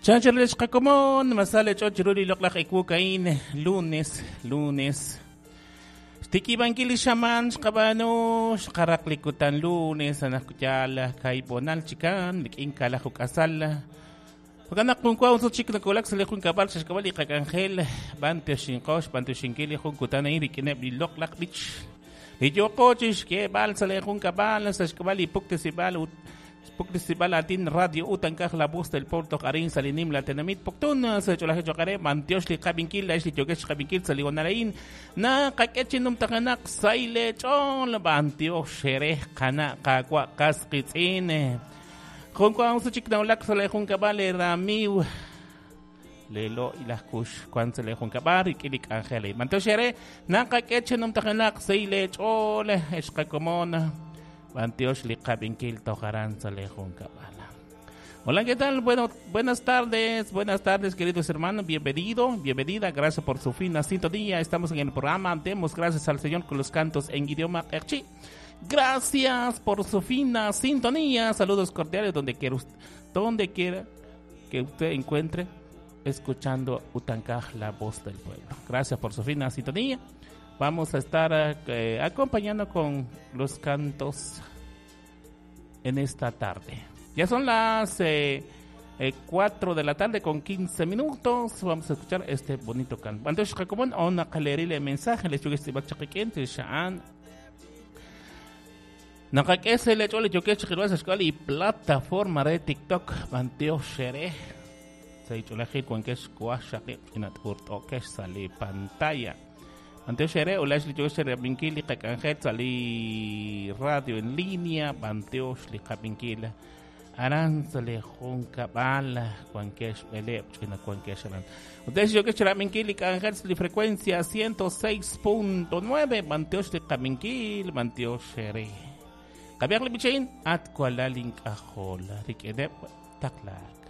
Chanchal xqakomon masale ch'och chiru li loq'laj ewu ka'in lunes, lunes. Xtikib'ankil li xamaan xqab'aanu xqaraq li kutan lunes anaqyal kaib'onal chikan rik'in kalaj uk'asal. Jo'kan naq jun wa unsut chik nakowulak sa' li junkab'al sa' xk'ab'a' li qak'anjel b'antioxinqo xb'antioxinkil li jun kutan a'in rik'ineb' li loq'laj b'ich. Li yooqo chi xk'eeb'al sa' li junkab'al sa' xk'ab'a' li puktesib'al ut puktesib'al aatin Radio Utankaj La Voz del Pueblo toj arin sa' li nimla tenamit Poptún sa' ch'oolajil cho'q re b'antiox li qab'inkil laa'ex li yookex xqab'inkil sa' li honal a'in naqak'e chi numtajenaq sahil eech'ool b'antiox eere qana' qaawa' qas qiitz'in jun wa usu chik nawulak sa' li junkab'al eeramiiw lelo ilaj kux wank sa' li junkab'al rik'in li k'anjel a'in b'antiox eere naqak'e chi numtajenaq sahil eech'ool ex qakomon b'antiox li qab'inkil toj aran sa' li junkab'al. Hola, ¿qué tal? Bueno, buenas tardes, buenas tardes, queridos hermanos. Bienvenido, bienvenida. Gracias por su fina sintonía. Estamos en el programa. Demos gracias al Señor con los cantos en idioma q'eqchi. Gracias por su fina sintonía. Saludos cordiales donde quiera, donde quiera que usted encuentre escuchando Utankaj, la voz del pueblo. Gracias por su fina sintonía. Vamos a estar acompañando con los cantos en esta tarde. Ya son las 4 de la tarde con 15 minutos. Vamos a escuchar este bonito canto. Antes, como ona kalerile mensaje, les yugues tibachaqiquen, sha'an. Naqak'e le ch'ol yokex chiqilwa sa xk'al y plataforma de TikTok banteo xere. Sa ich'olajil wankex kuaj xaqib' inat'urt'okex sa li pantalla. Banteo xere ulax li yokex xerab'inkil li qak'anjel sa li radio en línea banteo li qab'inkil aran sa li junkab'al wankex b'eleb' ch'ina wankex aran. Ustedes yokex xerab'inkil li k'anjel sa li frecuencia 106.9 banteo li qab'inkil banteo xere. Qab'iaq li b'ichain at kualal ink'ajol rik'ineb' taqlaak.